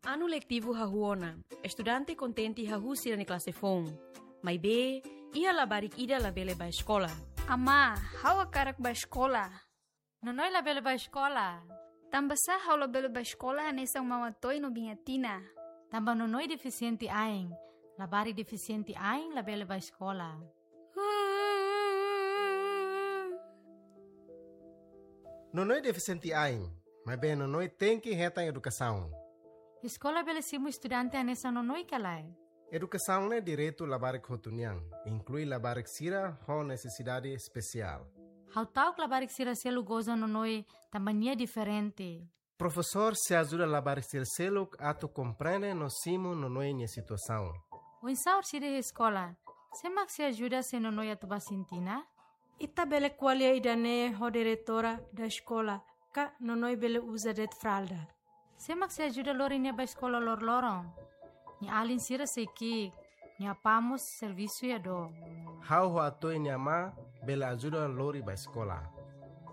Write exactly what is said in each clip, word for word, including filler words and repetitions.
Anu letivu hahú ona, estudante kontente hahú sira-nia klase foun. Maibé, iha labarik ida labele bá eskola. Amá, ha'u hakarak bá eskola. Nonoi labele bá eskola. Tanbasá ha'u labele bá eskola hanesan Mama Toy no Biña Tina? Tanba Nonoi defisiente ain. Labarik defisiente ain labele bá eskola. Nonoi defisiente ain, maibé Nonoi tenke hetan edukasaun. Eskola bele simu estudante hanesan Nonoi ka lae? Edukasaun ne'e direitu labarik hotu nian, inklui labarik sira ho nesesidade espesiál. Ha'u ta'uk labarik sira seluk goza Nonoi tanba nia diferente. Profesór sei ajuda labarik sira seluk atu komprende no simu Nonoi nia situasaun. Oinsá orsida iha eskola? Sé mak sei ajuda se Nonoi atu bá sintina? Ita bele ko'alia ida-ne'e ho diretora da eskola, ka Nonoi bele uza de'it fralda. Sé mak sei ajuda lori nia bá eskola loroloron? Nia alin sira sei ki'ik, nia apá mós servisu iha dook. Ha'u ho Atoy nia amá bele ajuda lori bá eskola.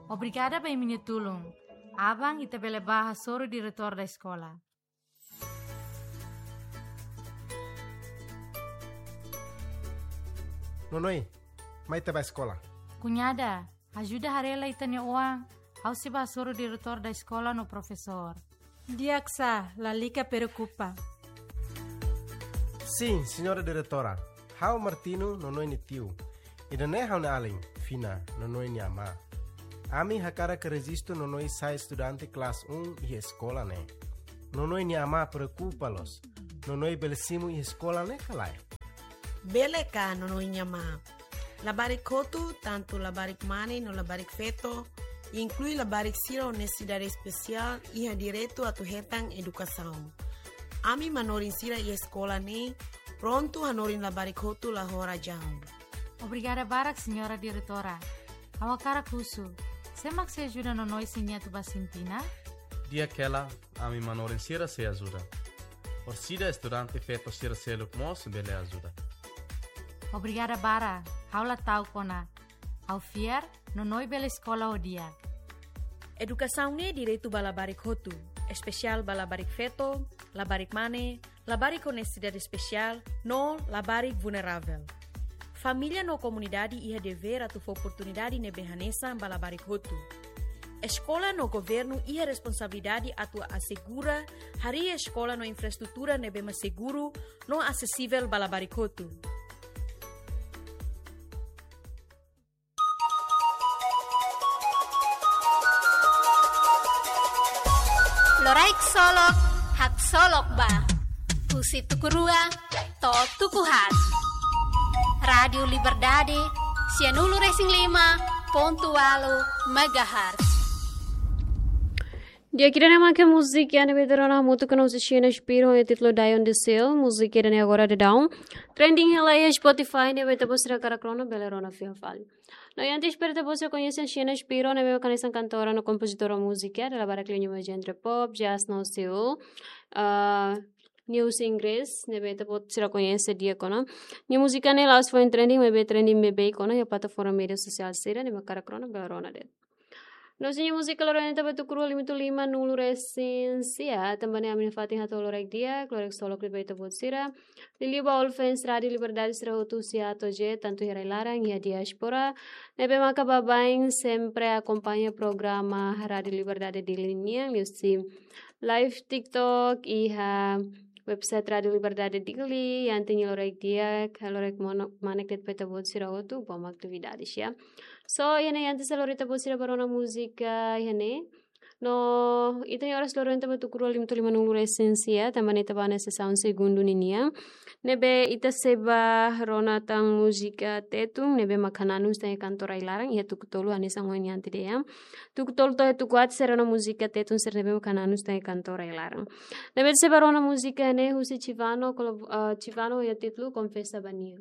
Obrigada ba imi-nia tulun. Aban ita bele bá hasoru diretór da eskola. Nonoi, mai ita bá eskola. Kuñada, ajuda haree lai ita-nia oan, ha'u sei bá hasoru diretór da eskola no profesór. Di'ak sá, lalika preokupa. Sin, señora diretora. Ha'u Martino, Nonoi nia tiu. Ida-ne'e ha'u-nia alin, Fina, Nonoi nia amá. Ami hakarak rejistu Nonoi sai estudante klase um iha eskola ne'e. Nonoi nia amá preokupa loos. Nonoi bele simu iha eskola ne'e ka lae? Bele ka, Nonoi nia amá? Labarik hotu, tantu labarik mane no labarik feto, inklui labarik sira ho nesesidade espesiál, iha direitu atu hetan edukasaun. Ami manorin sira iha eskola ne'e prontu hanorin labarik hotu la ho razaun. Obrigada barak, señora diretora. Ha'u hakarak husu, sé mak sei ajuda Nonoi se nia atu bá sintina? Di'ak hela, ami manorin sira sei ajuda. Orsida estudante feto sira seluk mós bele ajuda. Obrigada barak, ha'u la ta'uk ona. Ha'u fiar, Nonoi bele eskola ho di'ak. Edukasaun ne'e direitu ba labarik hotu, espesiál ba labarik feto, labarik mane, labarik ho nesesidade espesiál, no labarik vulneravel. Família no komunidade iha devér atu fó oportunidade ne'ebé hanesan ba labarik hotu. Eskola no governu iha responsabilidade atu asegura harii eskola no infraestrutura ne'ebé mak seguru no asesivel ba labarik hotu. Loraik solok, haksolok ba. Husi tuku rua to'o tuku haat. Rádiu Liberdade, sianulu resin lima pontu ualu megahertz. Di'ak, ida-ne'e mak múzika ne'ebé ita rona hamutuk ho Xina Shapiro, ho títulu Die on the Hill. Múzika ida-ne'e agora daudaun trending hela iha Spotify, ne'ebé ita-boot sira hakarak rona, bele rona fiar fali. No, i antes para ita-boot sira koñese Xina Shapiro, ne'ebé mak hanesan kantora no kompozitora múzika, dala barak liña ba genre pop, jazz no soul. Ah, nia husi inglés, ne'ebé ita-boot sira koñese di'ak ona. Nia múzika ne'e la'ós foin trending, maibé trending beibeik ona iha plataforma média sosiál sira, ne'ebé mak hakarak rona, bele rona de'it. No, nia múzika loron ne'e ita bá tuku rua lima nulu resin sia, tanba ne'e ami nafatin hato'o loraik di'ak, loraik solok liu ba ita-boot sira. Liuliu ba all fans Rádiu Liberdade sira hotu husi A to'o Z, tantu iha rai-laran, iha diáspora. Ne'ebé maka baibain sempre akompaña programa Rádiu Liberdade Dili nian, liuhusi live TikTok, iha website Rádiu Liberdade Dili, i antes nia loraik di'ak, loraik mano-, manek de'it ba ita-boot sira hotu, ba atividade sira. So, iha ne'e antes loraik ita-boot sira bá rona múzika, iha ne'e. No, ita-nia oras loron ita bá tuku rua lima nulu resin sia, tanba ne'e ita bá iha sesaun segundu ninian. Ne'ebé ita sei bá rona tan múzika Tetun, ne'ebé mak hananu husi ita-nia kantor rai-laran, iha tuku tolu hanesan ohin nia antes dehan. Tuku tolu to'o tuku haat sei rona múzika Tetun sira ne'ebé mak hananu husi ita-nia kantor rai-laran. Ne'ebé ita sei bá rona múzika ne'e husi Chivano, kolab-, ah, Chivano ho títulu Konfesa ba Nia.